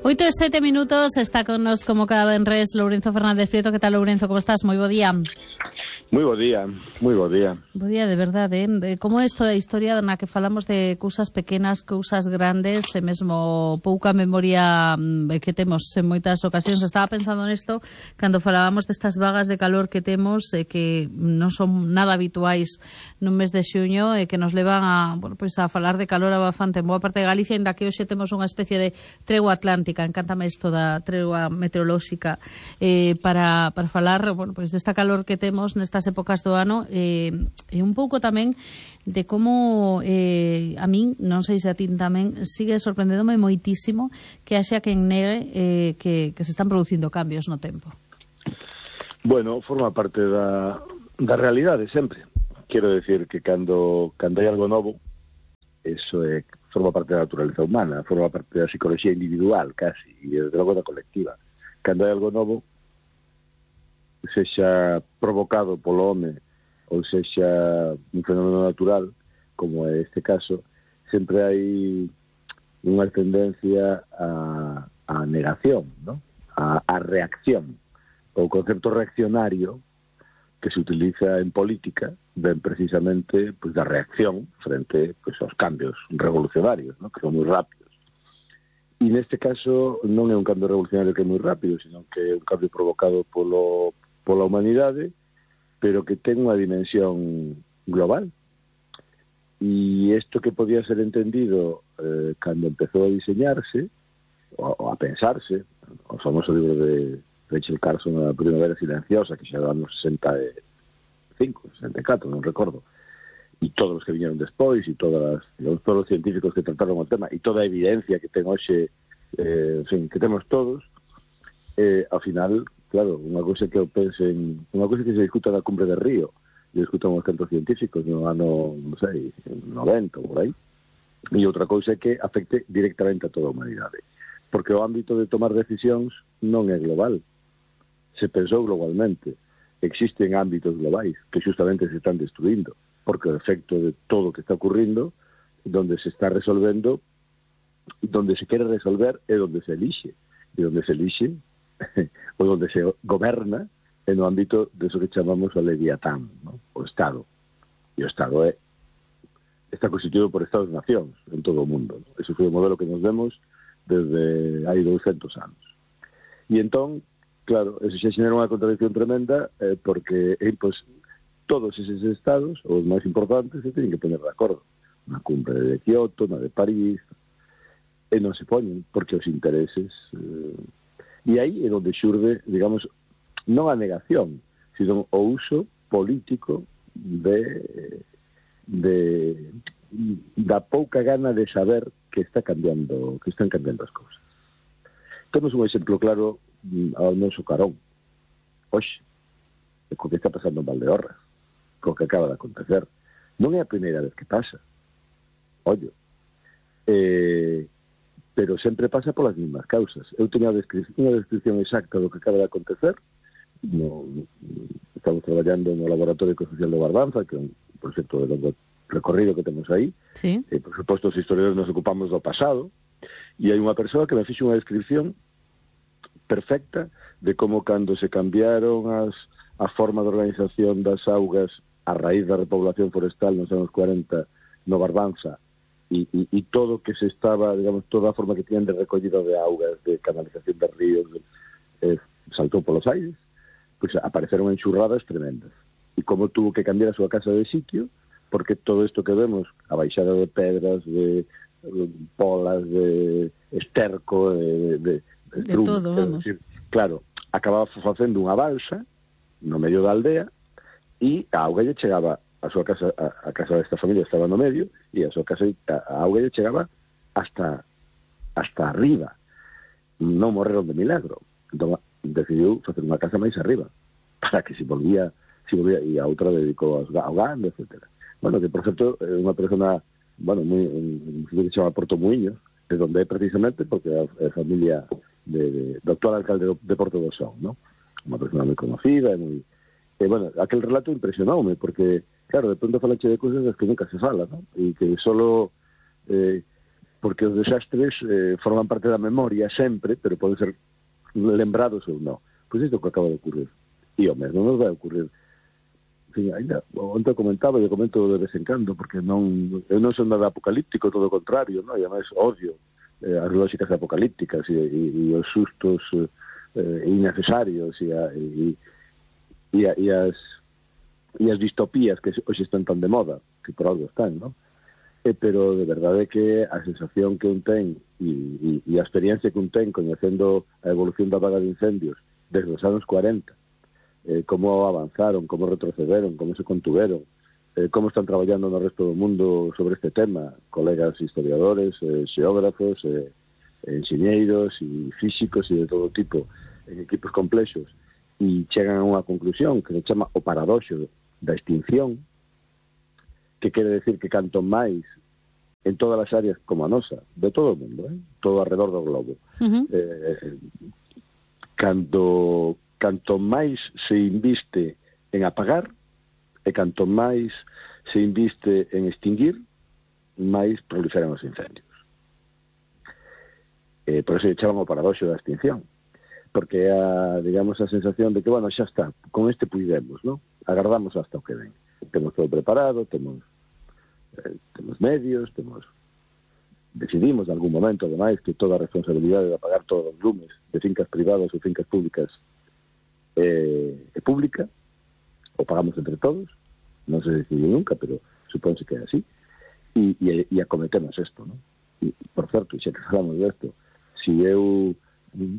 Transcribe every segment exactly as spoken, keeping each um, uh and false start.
Oito e sete minutos, está con nos como cada venres Lourenzo Fernández Prieto. Que tal, Lourenzo, como estás? Moi bo día. Moi bo día, moi bo día. Bo día, de verdade, eh? Como é isto da historia na que falamos de cousas pequenas, cousas grandes, e mesmo pouca memoria que temos en moitas ocasións. Estaba pensando nesto cando falábamos destas vagas de calor que temos, e que non son nada habituais nun mes de xuño, e que nos levan a, bueno, pois a falar de calor abafante en boa parte de Galicia, ainda que hoxe temos unha especie de tregua atlántica. Encántame isto da tregua meteorolóxica, eh, para, para falar, bueno, pois desta calor que temos nestas épocas do ano, eh, e un pouco tamén de como eh, a min, non sei se a ti tamén, sigue sorprendéndome moitísimo que haxa quen negue eh, que, que se están producindo cambios no tempo. Bueno, forma parte da, da realidade sempre. Quero decir que cando, cando hai algo novo, eso é, forma parte da naturaleza humana, forma parte da psicología individual, casi, e desde logo da colectiva. Cando hai algo novo, sexa provocado polo home ou sexa un fenómeno natural, como é este caso, sempre hai unha tendencia a, a negación, ¿no? a, a reacción. O concepto reaccionario que se utiliza en política ven precisamente pues, da reacción frente pues, aos cambios revolucionarios, ¿no? Que son moi rápidos. E neste caso non é un cambio revolucionario que é moi rápido, sino que é un cambio provocado polo pola humanidade, pero que ten unha dimensión global. E isto que podía ser entendido eh, cando empezou a diseñarse, ou, ou a pensarse, o famoso libro de Rachel Carson, A Primavera Silenciosa, que xa era nos sesenta e cinco, sesenta e catro, non recordo, e todos os que viñeron despois, e todas, digamos, todos os científicos que trataron o tema, e toda a evidencia que ten hoxe, eh, en fin, que temos todos, eh, ao final, claro, unha cousa que eu pensen, unha cousa que se discuta na cumbre de Río, e discutan os centros científicos no ano, non sei, noventa, por aí, e outra cousa é que afecte directamente a toda a humanidade, porque o ámbito de tomar decisións non é global, se pensou globalmente, existen ámbitos globais que justamente se están destruindo, porque o efecto de todo o que está ocurrindo, donde se está resolvendo, donde se quere resolver é donde se elixe, e donde se elixe ou donde se goberna en o ámbito de eso que chamamos o Leviatán, ¿no? O Estado. E o Estado é, está constituído por Estados-nacións en todo o mundo, ¿no? Ese foi o modelo que nos vemos desde hai douscentos anos. E entón, claro, eso xa xenera unha contradicción tremenda, eh, porque eh, pues, todos eses estados, os máis importantes, se teñen que poner de acordo. Na cumbre de Kioto, na de París, e non se poñen, porque os intereses... Eh, e aí é onde xurde, digamos, non a negación, sino o uso político de, de da pouca gana de saber que está cambiando, que están cambiando as cousas. Temos un exemplo claro ao noso carón, hoxe, co que está pasando en Valdeorras, co que acaba de acontecer. Non é a primeira vez que pasa, ollo, eh, pero sempre pasa polas mismas causas. Eu teño unha descripción exacta do que acaba de acontecer. No, estamos traballando no Laboratorio Ecosocial de Barbanza, que é un proxecto de longo recorrido que temos aí. Sí. E, por suposto, os historiadores nos ocupamos do pasado. E hai unha persoa que me fixe unha descripción perfecta de como cando se cambiaron as, a forma de organización das augas a raíz da repoblación forestal nos anos cuarenta no Barbanza, E, e, e todo que se estaba, digamos, toda a forma que tiñan de recollida de augas, de canalización de ríos, eh, saltou polos aires, pois apareceron enxurradas tremendas. E como tuvo que cambiar a súa casa de sitio, porque todo isto que vemos, a baixada de pedras, de, de polas, de esterco, de, de, de, de trunco, todo, vamos. Decir, claro, acababa facendo unha balsa no medio da aldea, e a auga lle chegaba a súa casa, a, a casa desta familia estaba no medio, e a súa casa, a, a auga lle chegaba hasta hasta arriba. Non morreron de milagro. Entón, decidiu facer unha casa máis arriba, para que se volvía, se volvía, e a outra dedicou ao gando, etcétera. Bueno, que por certo é unha persona, bueno, moi, un sitio que se chama Porto Muiños, é onde é precisamente porque é a familia de, de, do actual alcalde de Porto do Son, ¿no? Unha persona moi conocida, e moi... E, bueno, aquel relato impresionoume, porque claro, de pronto falache de cousas das que nunca se fala, ¿no? E que solo eh, porque os desastres eh, forman parte da memoria sempre, pero poden ser lembrados ou non. Pois isto que acaba de ocurrir. E o mesmo nos vai ocurrir. En fin, ainda, onte comentaba, eu comento de vez en cando, porque non, eu non son nada apocalíptico, todo o contrario, non? E además odio eh, as lógicas apocalípticas e, e, e os sustos eh, innecesarios e, a, e, e, a, e as e as distopías que hoxe están tan de moda, que por algo están, non? Eh, pero de verdade que a sensación que un ten e, e, e a experiencia que un ten coñecendo a evolución da vaga de incendios desde os anos cuarenta, eh, como avanzaron, como retrocederon, como se contuveron, eh, como están traballando no resto do mundo sobre este tema, colegas historiadores, eh, xeógrafos, eh, enxeñeiros e físicos e de todo tipo, en equipos complexos, e chegan a unha conclusión que se chama o paradoxo da extinción, que quere decir que canto máis en todas as áreas como a nosa, de todo o mundo, eh? Todo alrededor do globo, uh-huh. eh, canto, canto máis se inviste en apagar e canto máis se inviste en extinguir, máis proliferan os incendios. Eh, por eso se chaman o paradoxo da extinción, porque é a, digamos, a sensación de que, bueno, xa está, con este puidemos, ¿no? Agardamos hasta o que ven. Temos todo preparado, temos eh, temos medios, temos decidimos en algún momento, ademais, que toda a responsabilidade de apagar todos os lumes de fincas privadas ou fincas públicas eh, é pública, o pagamos entre todos, non se decide nunca, pero supónse que é así, e, e, e acometemos isto, ¿no? E, por certo, xa que falamos desto, se eu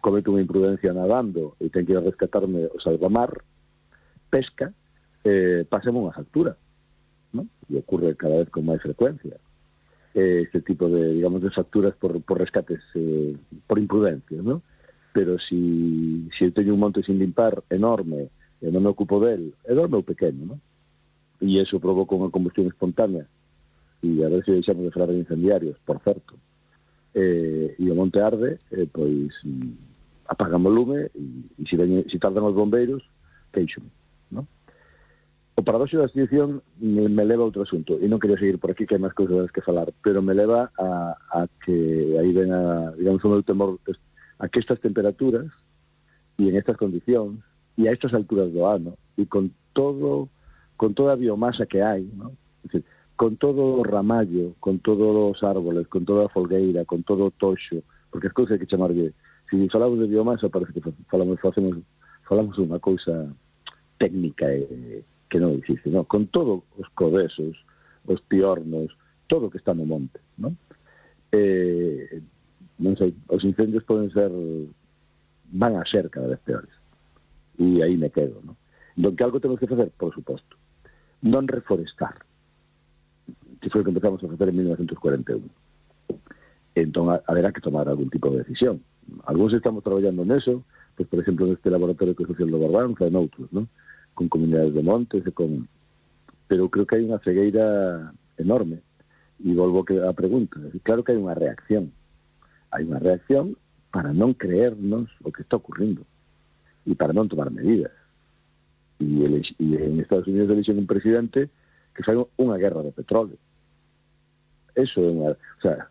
cometo unha imprudencia nadando e ten que ir a rescatarme o salvamar, pesca, eh, pasemos unha factura, ¿no? E ocurre cada vez con máis frecuencia eh, este tipo de, digamos, de facturas por, por rescates eh, por imprudencia, ¿no? Pero si, si eu teño un monte sin limpar enorme e non me ocupo del, enorme ou pequeno, ¿no? E iso provoca unha combustión espontánea e a ver se deixamos de falar de incendiarios, por certo, eh, e o monte arde, eh, pois apagamos o lume e, e se, ven, se tardan os bombeiros, queixome, ¿no? O paradoxo da extinción me, me leva a outro asunto, e non quería seguir por aquí, que hai máis cousas das que falar, pero me leva a, a que aí ven a, digamos, o meu temor a que estas temperaturas e en estas condicións e a estas alturas do ano e con todo con toda a biomasa que hai, ¿no? Es decir, con todo o ramallo, con todos os árboles, con toda a folgueira, con todo o toxo, porque as cousas hai que chamarlle, se falamos de biomasa parece que falamos facemos falamos unha cousa técnica e que non existe, ¿no? Con todos os codesos, os piornos, todo o que está no monte, ¿no? Eh, non sei, os incendios poden ser, van a ser cada vez peores, e aí me quedo, ¿no? Entón, que algo temos que facer, por suposto, non reforestar, que foi o que empezamos a facer en mil novecientos cuarenta e un. Entón, haberá que tomar algún tipo de decisión. Alguns estamos traballando neso, pues, por exemplo, neste laboratorio que social do Barbanza, e noutros, ¿no? Con comunidades de montes e con... pero creo que hai unha cegueira enorme e volvo a pregunta, claro que hai unha reacción hai unha reacción para non creernos o que está ocurrindo e para non tomar medidas e, ele, e en Estados Unidos elixen un presidente que fai unha guerra de petróleo. Eso é unha, o sea,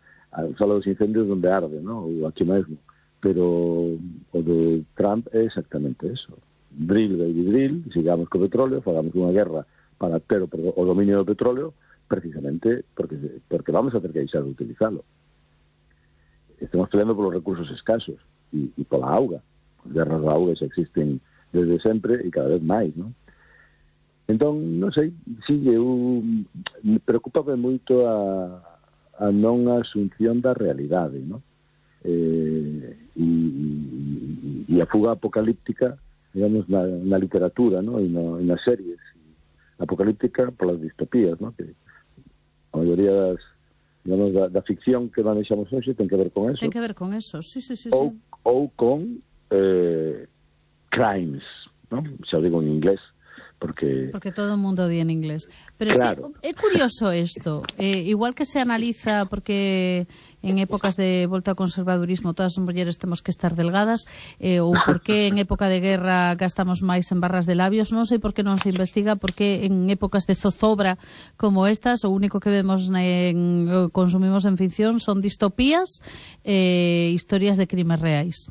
fala dos incendios donde arde, ¿no? Ou aquí mesmo, pero o de Trump é exactamente eso. Drill, baby drill, sigamos co petróleo, fagamos unha guerra para ter o, o dominio do petróleo, precisamente porque, porque vamos a ter que deixar de utilizarlo. Estamos peleando polos recursos escasos e, e pola auga. As guerras da auga xa existen desde sempre e cada vez máis, non? Entón, non sei, si eu me preocupaba moito a, a non asunción da realidade, non? Eh, e, e, e a fuga apocalíptica, digamos, na, na literatura, ¿no? E, no, e nas series apocalíptica polas distopías, ¿no? Que a maioría das, digamos, da, da ficción que manexamos hoxe ten que ver con eso. Ten que ver con eso, sí, sí, sí. Ou, sí. ou con eh, crimes, ¿no? Xa digo en inglés, porque porque todo o mundo di en inglés. Pero claro. sí, é curioso isto, eh, igual que se analiza porque en épocas de volta ao conservadurismo todas as mulleres temos que estar delgadas, eh, ou porque en época de guerra gastamos máis en barras de labios, non sei por que non se investiga porque en épocas de zozobra como estas o único que vemos en, consumimos en ficción son distopías e eh, historias de crimes reais.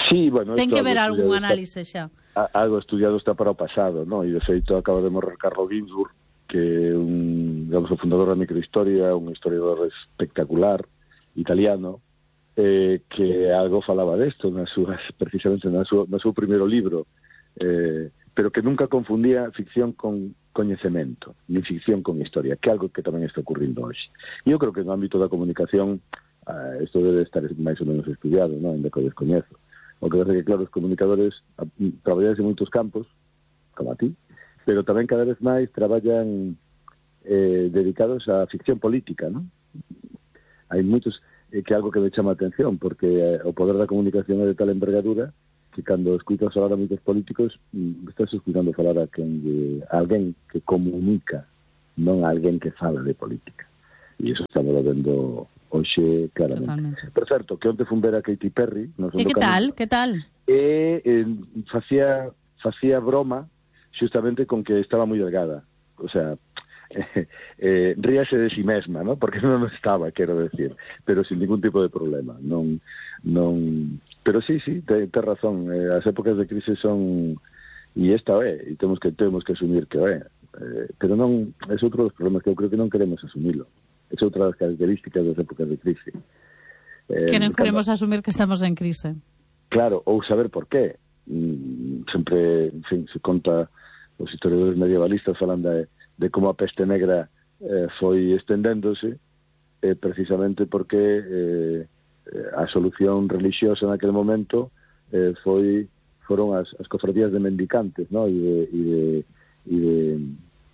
Sí, bueno, ten que ver algún análise xa. Algo estudiado está para o pasado, ¿no? E de feito acaba de morrer Carlo Ginzburg, que é un, digamos, o fundador da microhistoria, un historiador espectacular italiano, eh, que algo falaba desto nas súas, precisamente na súa, no seu primeiro libro, eh, pero que nunca confundía ficción con coñecemento, ni ficción con historia, que é algo que tamén está ocurrindo hoxe. E eu creo que no ámbito da comunicación uh, isto debe estar máis ou menos estudiado, ¿no? En que o descoñezo. O que pasa que, claro, os comunicadores traballan en moitos campos, como a ti, pero tamén cada vez máis traballan eh, dedicados á ficción política, ¿no? Hai moitos, eh, que é algo que me chama a atención, porque eh, o poder da comunicación é de tal envergadura que cando escuitas falar a moitos políticos, estás escuitando falar a, quen de, a alguén que comunica, non a alguén que fala de política. E iso estamos vendo hoxe claramente. Totalmente. Por certo, que onte fun ver a Katy Perry. E que tal? Que tal? E eh, facía, facía broma justamente con que estaba moi delgada. O sea, eh, eh, ríase de si mesma, ¿no? Porque non estaba, quero decir, pero sin ningún tipo de problema. Non, non... Pero sí, sí, ten te razón. Eh, as épocas de crise son... E esta é, e temos que, temos que asumir que é. Eh, pero non, é outro dos problemas que eu creo que non queremos asumilo. É outra das características das épocas de crise. Eh, que non queremos cando... asumir que estamos en crise. Claro, ou saber por qué. Mm, sempre, en fin, se conta os historiadores medievalistas falan de, de como a peste negra eh, foi estendéndose eh, precisamente porque eh, a solución religiosa naquele momento eh, foi foron as, as cofradías de mendicantes, ¿no? E de, e de, e de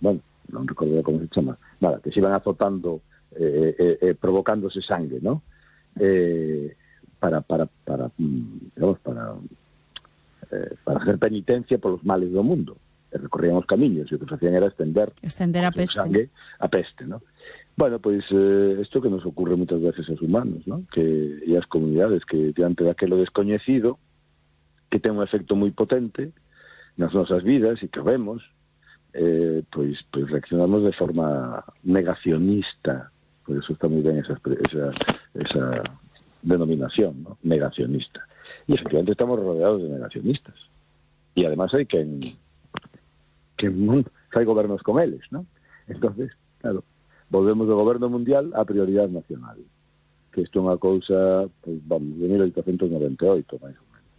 bueno, non recordo como se chama, nada, que se iban azotando Eh, eh, eh, provocándose sangue, ¿no? Eh, para para para digamos, para eh, para hacer penitencia por los males do mundo. E recorrían os camiños e o que facían era estender estender a peste, sangue a peste, ¿no? Bueno, pois pues, eh, isto que nos ocurre moitas veces aos humanos, ¿no? Que e as comunidades que diante daquelo descoñecido que ten un efecto moi potente nas nosas vidas e que vemos eh, pois, pois reaccionamos de forma negacionista. Por eso está muy bien esa, esa, esa denominación, ¿no? Negacionista. Y efectivamente estamos rodeados de negacionistas. Y además hay que, que hay gobiernos con ellos, ¿no? Entonces, claro, volvemos do goberno mundial a prioridade nacional. Que isto é unha cousa, pues, vamos, de mil oitocentos noventa e oito, máis ou menos.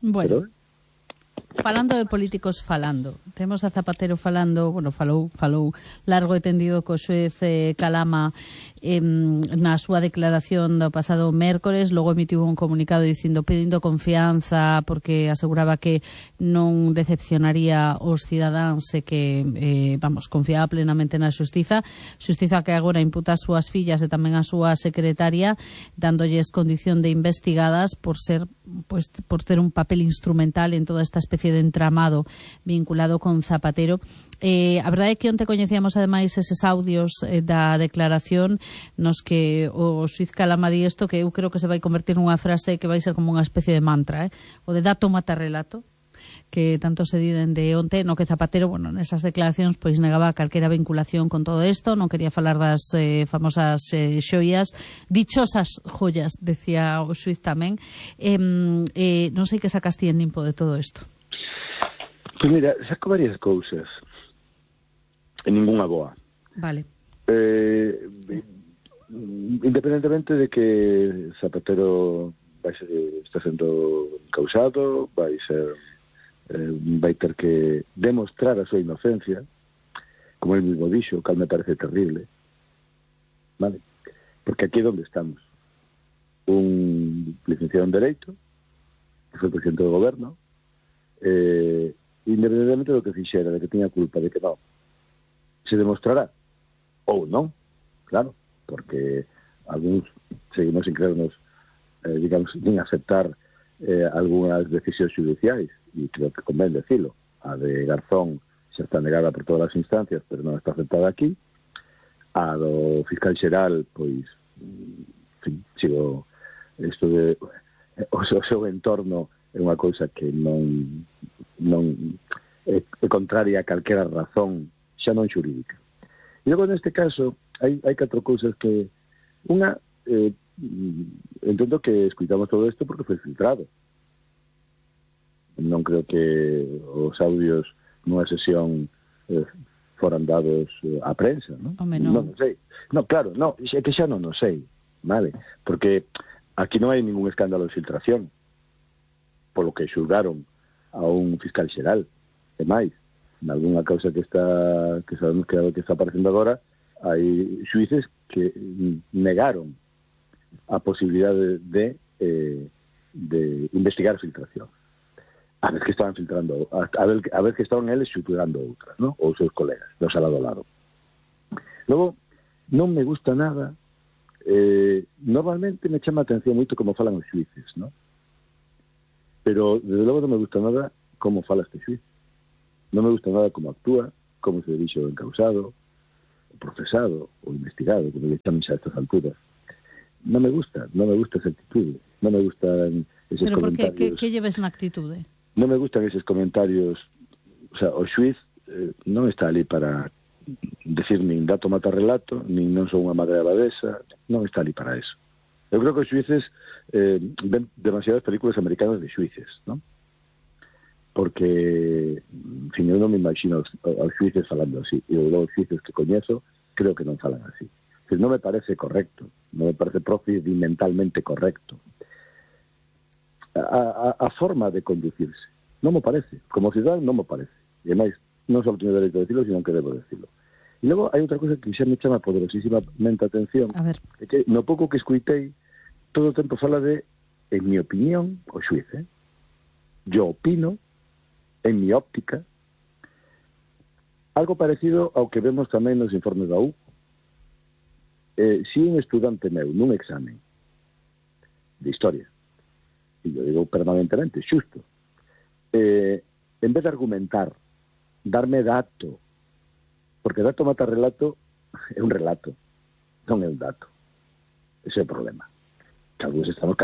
Bueno. Pero, falando de políticos falando, temos a Zapatero falando, bueno, falou, falou largo e tendido co xuez eh, Calama eh, na súa declaración do pasado mércores, logo emitiu un comunicado dicindo pedindo confianza porque aseguraba que non decepcionaría os cidadáns e que, eh, vamos, confiaba plenamente na xustiza, xustiza que agora imputa as súas fillas e tamén a súa secretaria, dándolles condición de investigadas por ser, pues, por ter un papel instrumental en toda esta especie de entramado vinculado con Zapatero. Eh, a verdade é que onte coñecíamos ademais eses audios eh, da declaración nos que o xuiz Calama di isto que eu creo que se vai convertir nunha frase que vai ser como unha especie de mantra, eh? O de dato mata relato, que tanto se di dende onte, no que Zapatero, bueno, nesas declaracións pois negaba calquera vinculación con todo isto, non quería falar das eh, famosas eh, xoias, dichosas joyas, decía o xuiz tamén. Eh, eh, non sei que sacaste en limpo de todo isto. Pois mira, saco varias cousas e ninguna boa. Vale. Eh, independentemente de que Zapatero vai ser, está sendo causado, vai ser eh, vai ter que demostrar a súa inocencia, como el mismo dixo, que me parece terrible, vale? Porque aquí é onde estamos. Un licenciado en Dereito, que foi presidente do goberno, eh, independentemente do que fixera, de que tiña culpa, de que non, se demostrará, ou non, claro, porque algúns seguimos sin creernos, eh, digamos, sin aceptar eh, algunhas decisións judiciais, e creo que convén decilo, a de Garzón xa está negada por todas as instancias, pero non está aceptada aquí. A do fiscal xeral, pois, en fin, sigo isto de o seu, o seu entorno é unha cousa que non non é, é contraria a calquera razón, xa non xurídica. E logo neste caso hai, hai catro cousas que unha, eh, entendo que escuitamos todo isto porque foi filtrado. Non creo que os audios nunha sesión eh, foran dados eh, á prensa, non? Home, non. Non, non sei. No, claro, no, é que xa non o sei, vale? Porque aquí non hai ningún escándalo de filtración, polo que xulgaron a un fiscal xeral. E máis, en algunha causa que está que sabemos que, que está aparecendo agora, hai xuíces que negaron a posibilidade de, de, eh, de investigar filtración. A ver que estaban filtrando, a, a, ver, a ver que estaban eles xulgando outras, ¿no? Ou seus colegas, dos al lado lado. Logo, non me gusta nada, eh, normalmente me chama a atención moito como falan os xuíces, ¿no? Pero, desde logo, non me gusta nada como fala este xuiz. Non me gusta nada como actúa, como se dirixe o encausado, o procesado, o investigado, como le chamen xa a estas alturas. Non me gusta, non me gusta esa actitude, non me gustan eses Pero por que, comentarios. que, que lleves na actitude? Non me gustan eses comentarios, o sea, o xuiz eh, non está ali para decir nin dato mata relato, nin non son unha madre abadesa, non está ali para eso. Eu creo que os xuíces eh, ven demasiadas películas americanas de xuíces, ¿no? Porque, en fin, eu non me imagino aos, aos xuíces falando así, e os xuíces que coñezo creo que non falan así. Pero non me parece correcto, non me parece procedimentalmente correcto. A, a, a forma de conducirse non me parece, como cidadán non me parece, e máis, non só teño dereito a decirlo, sino que debo decirlo. E logo hai outra cosa que xa me chama poderosísimamente a atención, A ver. é que no pouco que escuitei todo o tempo fala de, en mi opinión, o xuiz, eh? Yo opino, en mi óptica, algo parecido ao que vemos tamén nos informes da U. Eh, si un estudante meu nun examen de historia, e eu digo permanentemente, xusto, eh, en vez de argumentar, darme dato, porque dato mata relato é un relato, non é un dato. Ese é o problema. Que algúns estamos